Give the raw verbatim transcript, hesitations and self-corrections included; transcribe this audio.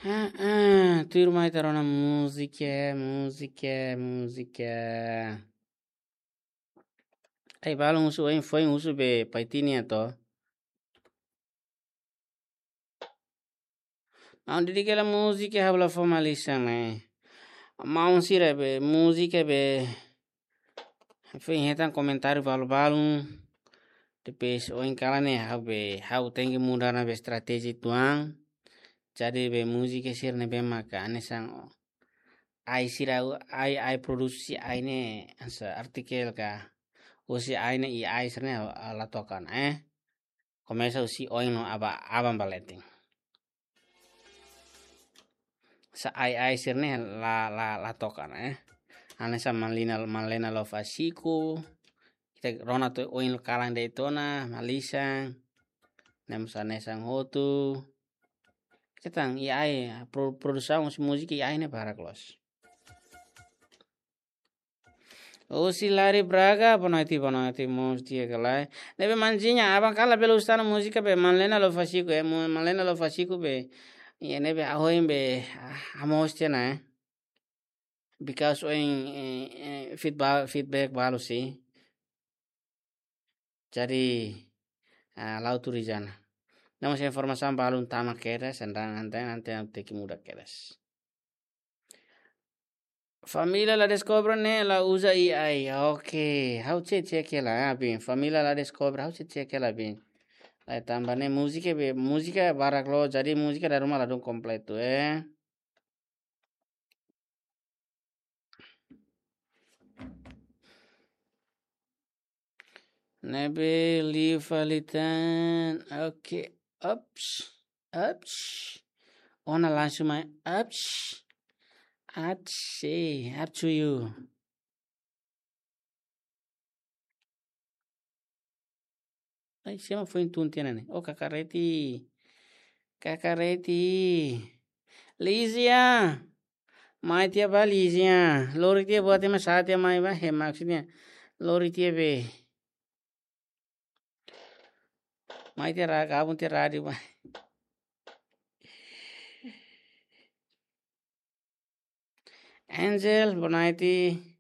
Ah, ah, tuirmai ita rona múzika, múzika, múzika. Ai, balun husu, ohin foin husu be Paitini to. Maun Didi, kela múzika ha'u la fó malisan ne'e. Maun sira be múzika be foin hetan komentáriu balu-balu. Depois ohin kalan ne'e ha'u be, ha'u tenke muda ona be estratéjia uitoan. Jadi be múzika sira ne'ebé maka hanesan ai sira, ai, ai produksi ai ne'e hanesan artikel ka. Husi ai ne'e, AI sira ne'e la toka ona, eh. Komesa husi oin no aban, aban ba leten. Hanesan ai, ai sira ne'e la, la, la toka ona, eh. Hanesan Manlena, Manlena Love Asiko. Ita rona to'o oin kalan de'it ona, malisan. Ne'e mós hanesan hotu. Ita tan AI, pro-, produsaun husi múzika AI ne'e barak loos. Husi Lari Braga, boa noite, boa noite, mós di'ak ka lae. Ne'ebé manjiña, aban kalan bele husu tan múzika be Manlena Love Asiko, eh, mu-, Manlena Love Asiko be. Iha ne'ebé ha'u hein be, ah, ha'u mós tiha ona, eh. Because ohin, eh, eh, feedback, feedback balu sih. Jadi, ah, la'o tuur iha ona. Ne'e mós informasaun balun tama kedas, sendang anten, anten tenke muda kedas. Família La Descobre ne'e la uza AI. Oke, ha'u cek, cek hela, ah, bin. Família La Descobre, ha'u cek, cek hela, bin. Lai tanba ne'e múzika be, múzika barak loos, jadi múzika dala ruma ladún kompletu, eh. Ne'ebé liu fali tan. Oke. Ups. Ups. Ona langsung mai. Ups. Ups. Eh, up to you. Ai, sé mak foin tun tiha ona ne'e? Oh, Kakareti. Kakareti. Lizia. Mai tiha bá, Lizia. Lori tiha buat ema sa tiha mai bá. He, maksudnya. Lori tiha be. Mai tiha ra-, gabung tiha rádiu bá. Angel, boa noite.